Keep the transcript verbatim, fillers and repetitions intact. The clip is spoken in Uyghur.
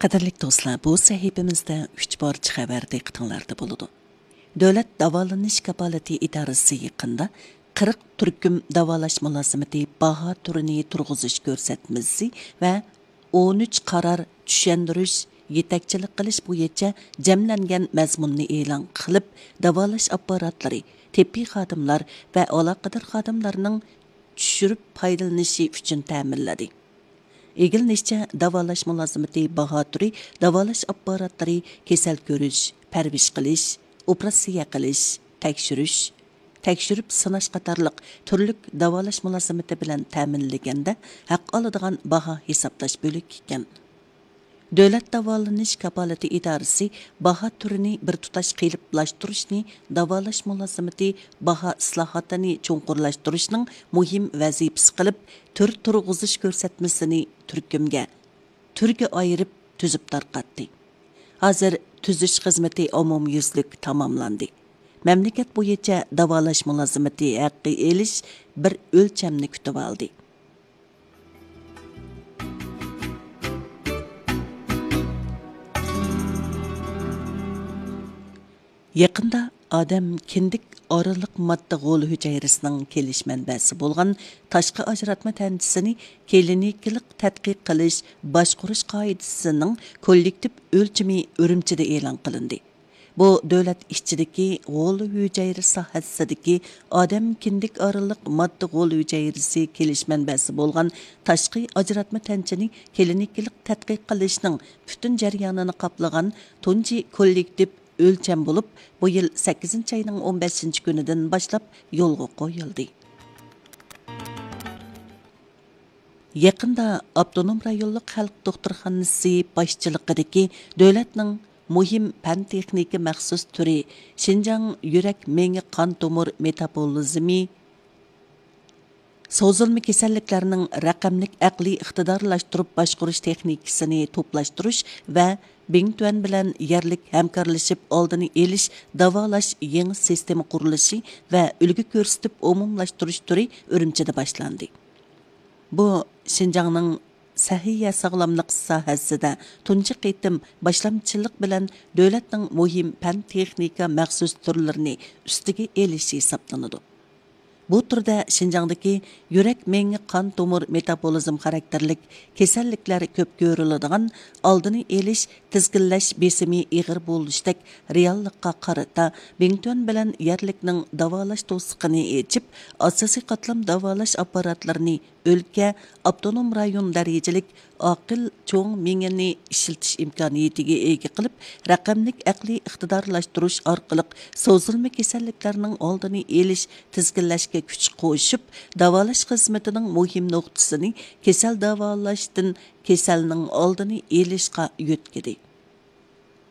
قەدىرلىك دوستلار، بۇ سەھىپىمىزدە ئۈچ پارچە خەۋەر دىققىتىڭلاردا بولىدۇ. دۆلەت داۋالىنىش كاپالىتى ئىدارىسى يېقىندا قىرىق تۈركۈم داۋالاش مۇلازىمىتى باھا تۈرىنى تۇرغۇزۇش كۆرسەتمىسى ۋە ئون ئۈچ قارار چۈشەندۈرۈش، يېتەكچىلىك قىلىش بويىچە جەملەنگەن مەزمۇننى ئېلان قىلىپ، داۋالاش ئاپپاراتلىرى، تېببىي خادىملار ۋە ئالاقىدار خادىملارنىڭ چۈشۈرۈپ پايدىلىنىشى ئۈچۈن تەمىنلىدى. ئىگىلىنىشىچە، داۋالاش مۇلازىمىتى باھا تۈرى داۋالاش ئاپپاراتلىرى كېسەل كۆرۈش، پەرۋىش قىلىش، ئوپېراتسىيە قىلىش، تەكشۈرۈش، تەكشۈرۈپ سىناش قاتارلىق تۈرلۈك داۋالاش مۇلازىمىتى بىلەن تەمىنلىگەندە ھەق ئالىدىغان باھا ھېسابلاش بۆلىكى ئىكەن. دۆلەت داۋالىنىش كاپالىتى ئىدارىسى باھا تۈرىنى بىر تۇتاش قېلىپلاشتۇرۇشنى، داۋالاش مۇلازىمىتى باھا ئىسلاھاتىنى چوڭقۇرلاشتۇرۇشنىڭ مۇھىم ۋەزىپىسى قىلىپ، تۈر تۇرغۇزۇش كۆرسەتمىسىنى تۈركۈمگە، تۈرگە ئايرىپ تۈزۈپ تارقاتتى. ھازىر تۈزۈش خىزمىتى ئومۇميۈزلۈك تاماملاندى. مەملىكەت بويىچە داۋالاش مۇلازىمىتى ھەققى ئېلىش بىر ئۆلچەمنى كۈتۈۋالدى. يېقىندا ئادەم كىندىك ئارىلىق ماددا غول ھۈجەيرىسىنىڭ كېلىش مەنبەسى بولغان تاشقى ئاجراتما تەنچىسىنى كلىنىكىلىق تەتقىق قىلىش باشقۇرۇش قائىدىسىنىڭ كوللېكتىپ ئۆلچىمى ئۈرۈمچىدە ئېلان قىلىندى. بۇ دۆلەت ئىچىدىكى غول ھۈجەيرە ساھەسىدىكى ئادەم كىندىك ئارىلىق ماددا غول ھۈجەيرىسى كېلىش مەنبەسى بولغان تاشقى ئاجراتما تەنچىنى كلىنىكىلىق تەتقىق قىلىشنىڭ پۈتۈن جەريانىنى قاپلىغان تۇنجى كوللېكتىپ ئۆلچەم بولۇپ، بۇ يىل سەككىزىنچى ئاينىڭ ئون بەشىنچى كۈنىدىن باشلاپ يولغا قويۇلدى. يېقىندا ئاپتونوم رايونلۇق خەلق دوختۇرخانىسى باشچىلىقىدىكى دۆلەتنىڭ مۇھىم پەن تېخنىكا مەخسۇس تۈرى شىنجاڭ يۈرەك مېڭە قان تومۇر مېتابولىزمى سوزۇلما كېسەللىكلەرنىڭ رەقەملىك ئەقلىي ئىقتىدارلاشتۇرۇپ باشقۇرۇش تېخنىكىسىنى توپلاشتۇرۇش ۋە بىڭتۈەن بىلەن يەرلىك ھەمكارلىشىپ ئالدىنى ئېلىش، داۋالاش يېڭى سىستېما قۇرۇلۇشى ۋە ئۈلگە كۆرسىتىپ ئومۇملاشتۇرۇش تۈرى ئۈرۈمچىدە باشلاندى. بۇ شىنجاڭنىڭ سەھىيە ساغلاملىق ساھەسىدە تۇنجى قېتىم باشلامچىلىق بىلەن دۆلەتنىڭ مۇھىم پەن تېخنىكا مەخسۇس تۈرلىرىنى ئۈستىگە ئېلىشى ھېسابلىنىدۇ. بۇ تۈردە شىنجاڭدىكى يۈرەك مېڭە قان تومۇر مېتابولىزم خاراكتېرلىك كېسەللىكلەر كۆپ كۆرۈلىدىغان ئالدىنى ئېلىش، تىزگىنلەش بېسىمى ئېغىر بولۇشتەك رېئاللىققا قارىتا، بىڭتۈەن بىلەن يەرلىكنىڭ داۋالاش توسۇقىنى ئېچىپ، ئاساسىي قاتلام داۋالاش ئاپپاراتلىرىنى ئۆلكە، ئاپتونوم رايون دەرىجىلىك ئاقىل چوڭ مېڭىنى ئىشلىتىش ئىمكانىيىتىگە ئىگە قىلىپ، رەقەملىك ئەقلىي ئىقتىدارلاشتۇرۇش ئارقىلىق سوزۇلما كېسەللىكلەرنىڭ ئالدىنى ئېلىش، تىزگىنلەشكە كۈچ قوشۇپ، داۋالاش خىزمىتىنىڭ مۇھىم نۇقتىسىنى كېسەل داۋالاشتىن كېسەلنىڭ ئالدىنى ئېلىشقا يۆتكىدى.